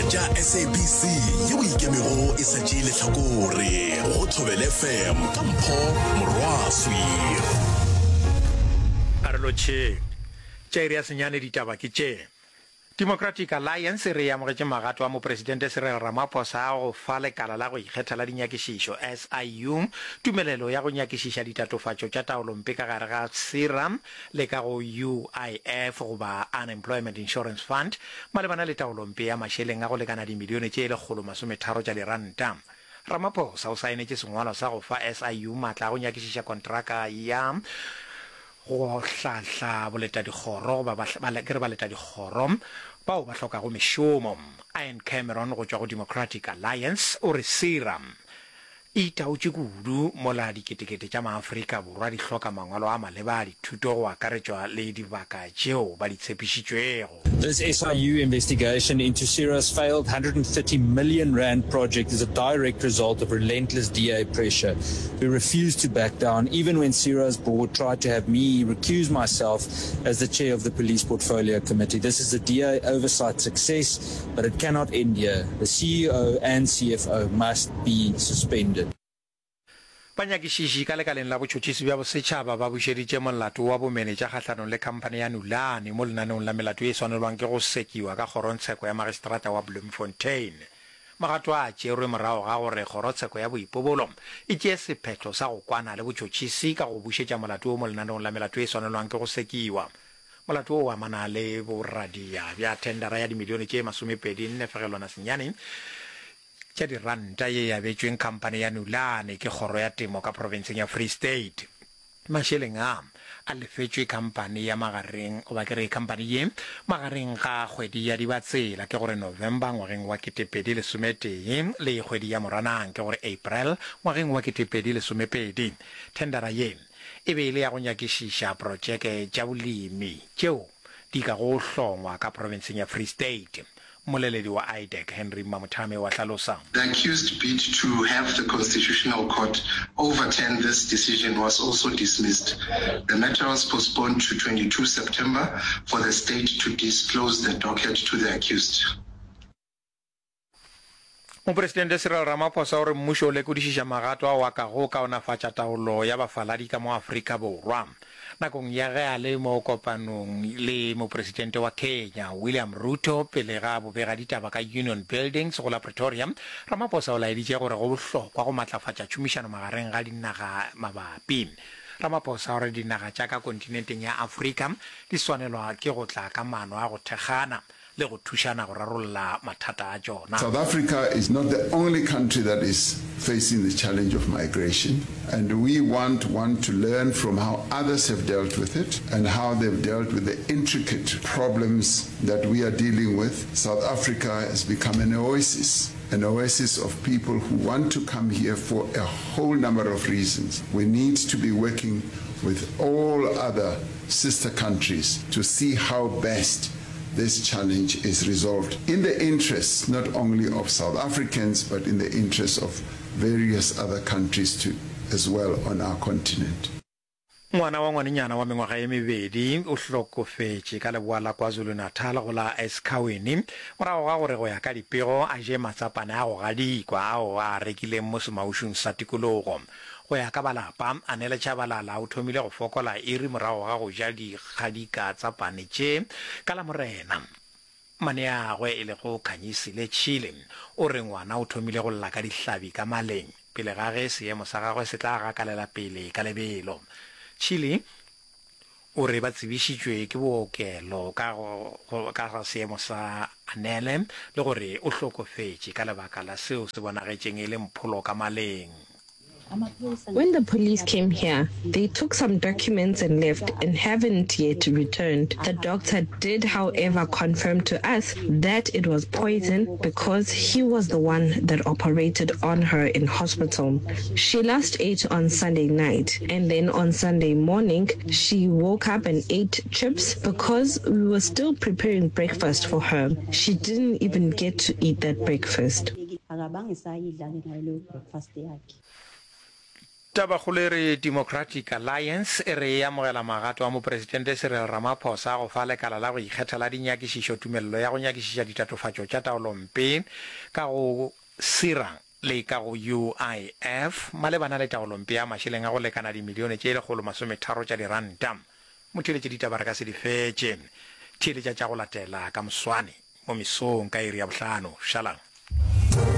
tša SABC yeo e ikemego e sa tšee lehlakore go Thobela FM ka Mpho Morwaswi. A re lotšheng. Tša iri ya senyane ditaba ke tše. Democratic Alliance e re e amogetše magato a Mopresidente Cyril Ramaphosa a go fa Lekala la go Ikgetha la Dinyakišišo, SIU, tumelelo ya go nyakišiša ditatofatšo tša taolompe ka gare ga PSIRA le ka go UIF goba Unemployment Insurance Fund malebana le taolompe ya mašeleng a go lekana dimilione tše 130 tša diranta. Ramaphosa o saenetše sengwalwa sa go fa SIU matla a go nyakišiša kontraka ya go hlahla boletadikgoro goba ba, ba, ke re baletadikgoro bao ba hlokago mešomo. Ian Cameron go tšwa go Democratic Alliance o re PSIRA e itaotše kudu mola diketekete tša maAfrika Borwa di hloka mangwalo a maleba a dithuto go akaretšwa le dibaka tšeo ba di tshepišitšwego. This SIU investigation into PSIRA's failed 130 million rand project is a direct result of relentless DA pressure. We refuse to back down, even when PSIRA's board tried to have me recuse myself as the chair of the Police Portfolio Committee. This is a DA oversight success, but it cannot end here. The CEO and CFO must be suspended. Banyakišiši ka lekaleng la botšhotšhisi bja bosetšhaba ba bušeditše molato wa bomenetša kgahlanong le khamphane ya Nulane mo lenaneong la melato ye e swanelwang ke go sekiwa ka kgorongtsheko ya magistrata wa Bloemfontein. Magato a a tšerwe morago ga gore kgorotsheko ya boipobolo e tšee sephetho sa go kwana le botšhotšhisi ka go bušetša molato wo mo lenaneong la melato ye e swanelwang ke go sekiwa. Molato wo o amana le boradia bja thendara ya dimilione tše masomepedi nne fegelwana senyane tša diranta ye e abetšweng khamphane ya Nulane ke Kgoro ya Temo ka profenseng ya Free State. Mašeleng a, a lefetšwe khamphane ya magareng goba ke re khamphane ye magareng ga kgwedi ya Dibatsela ke gore November ngwageng wa 2011 le kgwedi ya Moranang ke gore April ngwageng wa 2012. Thendara ye e be e le ya go nyakišiša protšeke tša bolemi tšeo di kago hlongwa ka profenseng ya Free State. Mmoleledi wa IDAC, Henry Mamothame o a hlalosa. The accused bid to have the Constitutional Court overturn this decision was also dismissed. The matter was postponed to 22 September for the state to disclose the docket to the accused. Mopresidente Cyril Ramaphosa o re mmušo o lekodišiša magato ao a kago kaonafatša taolo ya bafaladi ka mo Afrika Borwa. Nakong ya ge a le mo kopanong le Mopresidente wa Kenya, William Ruto pele ga bobegaditaba ka Union Buildings go la Pretoria, Ramaphosa o laeditše gore go bohlokwa go matlafatša tšhomišano magareng ga dinaga mabapi. Ramaphosa o re dinaga tša ka kontinenteng ya Afrika di swanelwa ke go tla ka maano a go thekgana le go thušana go rarolla mathata a tšona. South Africa is not the only country that is facing the challenge of migration and we want one to learn from how others have dealt with it and how they've dealt with the intricate problems that we are dealing with. South Africa has become an oasis, an oasis of people who want to come here for a whole number of reasons. We need to be working with all other sister countries to see how best this challenge is resolved in the interests not only of South Africans but in the interests of various other countries too as well on our continent. Ngwana wa ngwanenyana wa mengwaga ye mebedi o hlokofetše ka leboa la KwaZulu-Natal go la Esikhawini morago ga gore go ya ka dipego a je matsapane a go gadikwa ao a a rekileng mo semaušung sa tikologo. Go ya ka ba lapa, Anele Chabalala o thomile go fokola iri morago ga go ja dikgadika tsa pane tše ka Lamorena. Maneagwe e lego Khanyisile Chile o re ngwana o thomile go lla ka dihlabi ka maleng pele ga ge seemo sa gagwe se tla gakalela pele ka lebelo. Chile o re ba tsebišitšwe ke bookelo ka ka ga seemo sa Anele le gore o hlokofetše ka lebaka la seo se bonagetšeng e le mpholo ka maleng. When the police came here, they took some documents and left and haven't yet returned. The doctor did, however, confirm to us that it was poison because he was the one that operated on her in hospital. She last ate on Sunday night and then on Sunday morning she woke up and ate chips because we were still preparing breakfast for her. She didn't even get to eat that breakfast. Tabakgolo e re Democratic Alliance e re e amogela magato a Mopresidente Cyril Ramaphosa a go fa lekala la go ikgetha la dinyakišišo tumelelo ya go nyakišiša ditatofatšo tša taolompe ka go PSIRA le ka go UIF malebana le taolompe ya mašeleng a go lekana dimilione tše 130 tša diranta. Motheeletši ditaba re ka se di fetše. Theeletša tša go latela ka moswane mo mesong ka iri ya bohlano. Šalang.